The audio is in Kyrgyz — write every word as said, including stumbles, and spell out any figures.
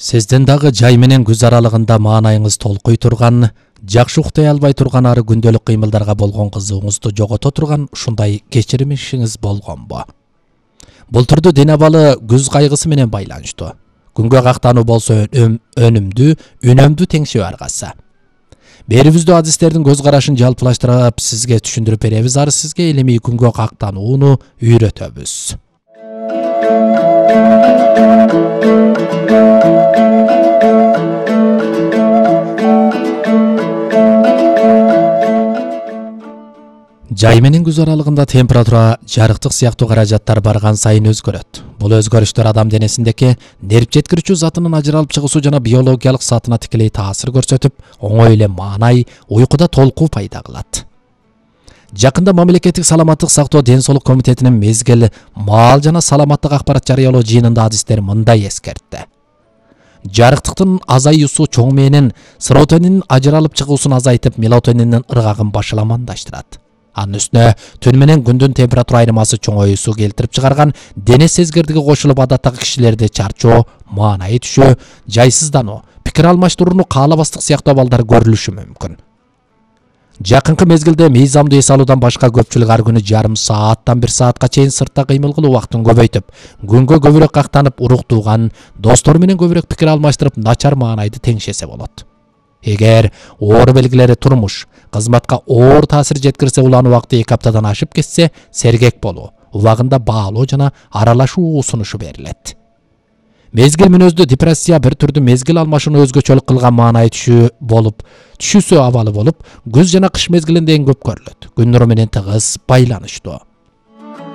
Сиздин дагы жай менен күз аралыгында маанайыңыз толкуй турган, жакшы уктай албай турган ары күндөлүк кыймылдарга болгон кызыгууңузду жогото турган ушундай кечирмишиңиз болгонбу? Бул түрдүү ден абалы күз кайгысы менен байланыштуу. Күнгө кактануу болсо өнүмдүү, үнөмдүү теңшеп аргасы. Берибиздүү адистердин көз карашын жалпылаштырып сизге түшүндүрүп беребиз, ары сизге илимий күнгө кактанууну үйрөтөбүз. Жай менен күз аралыгында температура, жарыктык сыяктуу каражаттар барган сайын өзгөрөт. Бул өзгөрүштөр адам денесиндеги нерв жеткирүүчү затынын ажыралып чыгуусу жана биологиялык саатына тикелей таасир көрсөтүп, оңой эле маанай, уйкуда толкуу пайда кылат. Жакында мамлекеттик саламаттык сактоо ден соолук комитетинин мезгил маал жана саламаттык акпарат жарыялоо жыйынында адистер мындай эскертти. Жарыктыктын азаюусу чоң мээнин серотонин ажыралып чыгуусун азайтып, мелатониндин ыргагын башаламандаштырат. Анын үстүнө түн менен күндүн температура айырмасы чоңоюусу келтирип чыгарган дене сезгирдиги кошулуп, адаттагы кишилерде чарчоо, маанайы түшүү, жайсыздануу, пикир алмаштырууну каалабастык сыяктуу абалдар көрүлүшү мүмкүн. Жакынкы мезгилде мыйзамдуу эс алуудан башка көпчүлүк ар күнү жарым сааттан бир саатка чейин сыртта кыймыл кылуу убактын көбөйтүп, күнгө көбүрөөк кактанып, уруктууган, достору менен көбүрөөк пикир алмаштырып, начар маанайды теңшесе болот. Эгер оор белгилери турмуш, кызматка оор таасир жеткирсе, улануу убакыты эки аптадан ашып кетсе, сергек болуу, убагында баалоо жана аралашуу сунушу берилет. Мезгил мүнөздүү депрессия бир түрдүү мезгил алмашууну өзгөчөлүк кылган маанай түшүү болуп, түшүүсү абалы болуп, күз жана кыш мезгилинде эң көп көрүлөт. Күн нуру менен тыгыз байланыштуу.